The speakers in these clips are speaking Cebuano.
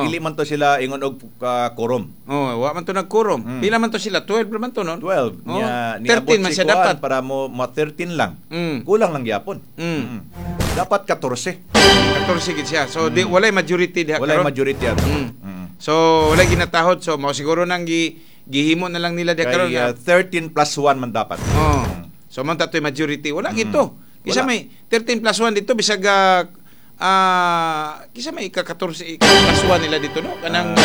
Dili man to sila ingon og quorum. Oh, wa man to nagquorum. Pila man to sila? 12 man to, no? 12. Oh, Nya 13 niabot man si siya kuan dapat. Para mo ma 13 lang. Kulang lang gyapon. Dapat 14. 14 gid siya. So di walay majority diha Walay karon. Majority ato. So walay ginatahod. So mao siguro nang gihimo na lang nila diha karon Kay nga. 13 plus 1 man dapat. Oh. So man tatoy majority. Wala gito. Kisa Wala. may 13 plus 1 dito bisag kisa may ika 14 ika plus 1 nila dito, no, kanang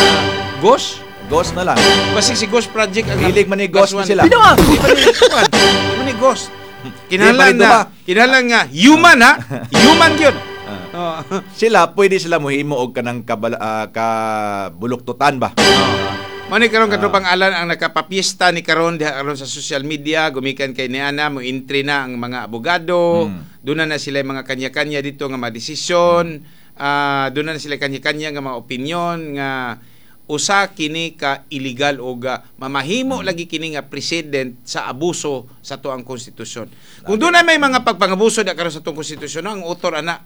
Ghost. Ghost na lang. Basi si Ghost Project ang Hilig man ni plus Ghost ni one. sila. Di ba ni kuwan? Di ba ni Ghost? Kinahanglan Di na ba? Kinahanglan nga human, ha? Human gyud. Oh. Sila pwede sila mohimo og kanang kabuluktutan ba. Mao ni karon, katropang Alan, ang nakapapiesta ni karon diha karon sa social media gumikan kay niana mo entry na ang mga abogado. Doon na sila yung mga kanya-kanya dito nga mga desisyon. Doon na sila kanya-kanya nga mga opinion nga usa kini ka illegal o ga mamahimo lagi kini nga precedent sa abuso sa tuang konstitusyon. Kung doon na may mga pagpangabuso diha karon sa tuang konstitusyon, ang author ana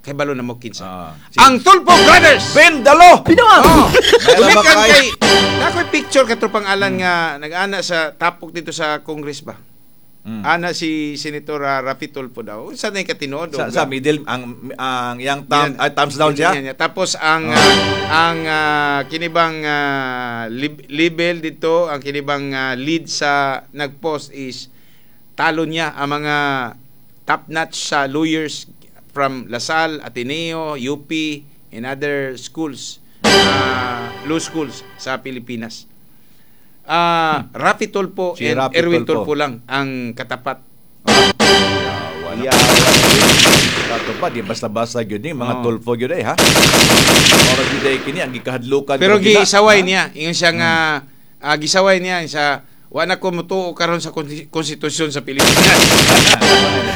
kay balo na mo kinsa. Ang Tulfo Brothers. Bendalo! Oh. Meron ba Gumikan kay- kay nakoy picture, katropang Alan, nga nag-ana sa tapok dito sa Congress ba. Ana si Senator Raffy Tulfo daw. Unsa na katinuod? Sa middle ang yang thumb, Yan. ay, thumbs down siya. Yan, yan. Tapos ang ang kinibang label dito, ang kinibang lead sa nagpost is talo niya ang mga top notch sa lawyers from La Salle, Ateneo, UP and other schools, law schools sa Pilipinas. Raffy Tulfo Si and Raffy Erwin Tulfo. Tulfo lang ang katapat. Yeah. Kato pa, di basta-basta gyud ni mga Tulfo gyud eh, ha. Ora gyud ay kini ang gikahadlukan. Pero gyud nila, gisaway ha? niya, ingon siya nga gisaway niya sa wa na ko mutuo karon sa konstitusyon sa Pilipinas.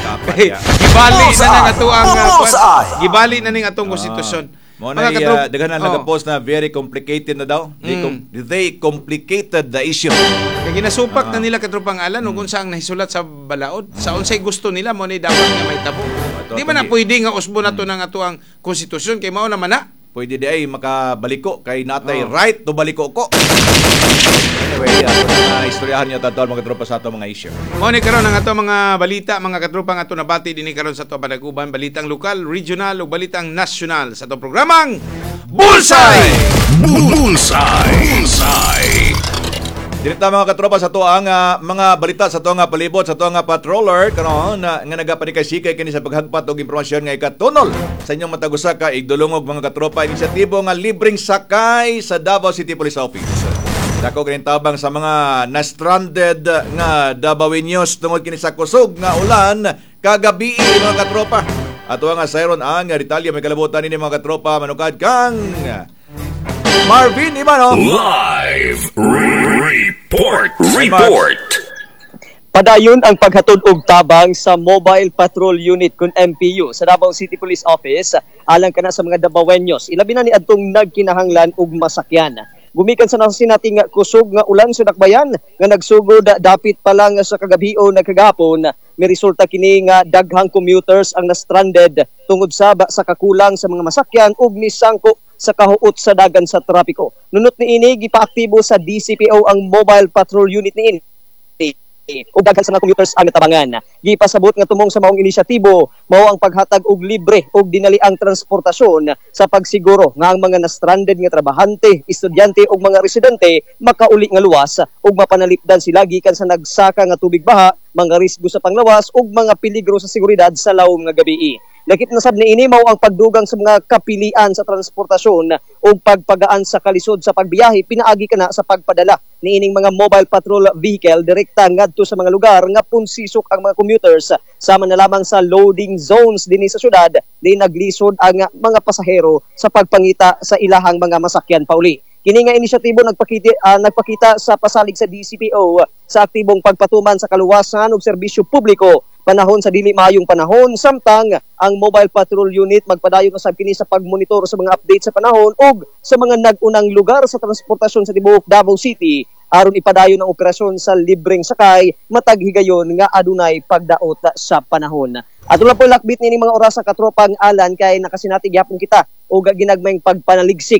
Dapat, Kay ya. gibali na nang ato ang Bullseye! gibali na ning atong konstitusyon. Mo na daghan na nagapost na very complicated na daw. They complicated the issue. Kay ginasupak na nila, katropang Alan, ug unsa ang nahisulat sa balaod, sa unsay gusto nila mo ni dapat nga mahitabo. Di ba na pwede nga usbo na to ng ato ang konstitusyon kay mao naman na? Pwede di ay makabaliko kay natay right to baliko ko. Anyway, ato na istoryahan niyo tadto, mga tropa, sa ato mga issue. Mao ni karon ang ato mga balita, mga katropa, nga ato nabati dinhi karon sa ato panaguban, balitang lokal, regional ug balitang nasyonal sa ato programang Bullseye! Bullseye! Bullseye! Direkta, mga katropa, sa to ang mga balita sa to nga palibot sa to nga patroller karon na nga nagapanikasikay kini sa paghagpat og impormasyon nga ikatunol sa inyong matag usa ka igdulungog, mga katropa, inisyatibo nga libreng sakay sa Davao City Police Office. Dako kini tabang sa mga na-stranded nga Davaoeños tungod kini sa kusog nga ulan kagabi, mga katropa. Ato nga sayron ang detalye, may kalabutan nini, mga katropa, manukad kang Marvin Ibano. Live Report! Report! Padayon ang paghatod og tabang sa Mobile Patrol Unit kun MPU sa Davao City Police Office alang kana sa mga Dabawenyos, ilabi na ni adtong nagkinahanglan og masakyan. Gumikan sa nasinating kusog nga ulan sa dakbayan nga nagsugod dapit pa lang sa kagabi o nagkagapon, may resulta kini nga daghang commuters ang na-stranded tungod saba sa kakulang sa mga masakyan ug misangko sa kahuot sa dagan sa trapiko. Nunot niini, gipaaktibo sa DCPO ang Mobile Patrol Unit niini ug daghan sa mga commuters ang natabangan. Gipasabot nga tumong sa maong inisyatibo mao ang paghatag og libre ug dinaliang transportasyon sa pagsiguro nga ang mga na-stranded nga trabahante, estudyante ug mga residente makauli nga luwas ug mapanalipdan sila gikan sa nagsaka nga tubig baha, mga risgo sa panglawas ug mga peligro sa seguridad sa lawom nga gabii. Lakip na sab niini mao ang pagdugang sa mga kapilian sa transportasyon ug pagpagaan sa kalisod sa pagbiyahe pinaagi kana sa pagpadala niining mga mobile patrol vehicle direkta ngadto sa mga lugar nga punsisok ang mga commuters, sama na lamang sa loading zones dinhi sa syudad di naglisod ang mga pasahero sa pagpangita sa ilahang mga masakyan pauli. Kini nga inisyatibo nagpakita sa pasalig sa DCPO sa aktibong pagpatuman sa kaluwasan ug serbisyo publiko panahon sa dili maayong panahon, samtang ang Mobile Patrol Unit magpadayon usab kini sa pagmonitor sa mga update sa panahon ug sa mga nag-unang lugar sa transportasyon sa tibuok Davao City aron ipadayon ang operasyon sa libreng sakay matag higayon nga adunay pagdaot sa panahon. Ato lang po lakbit nining mga oras sa katropang Alan kay nakasinati gyapon kita og ginagmayng pagpanaligsik.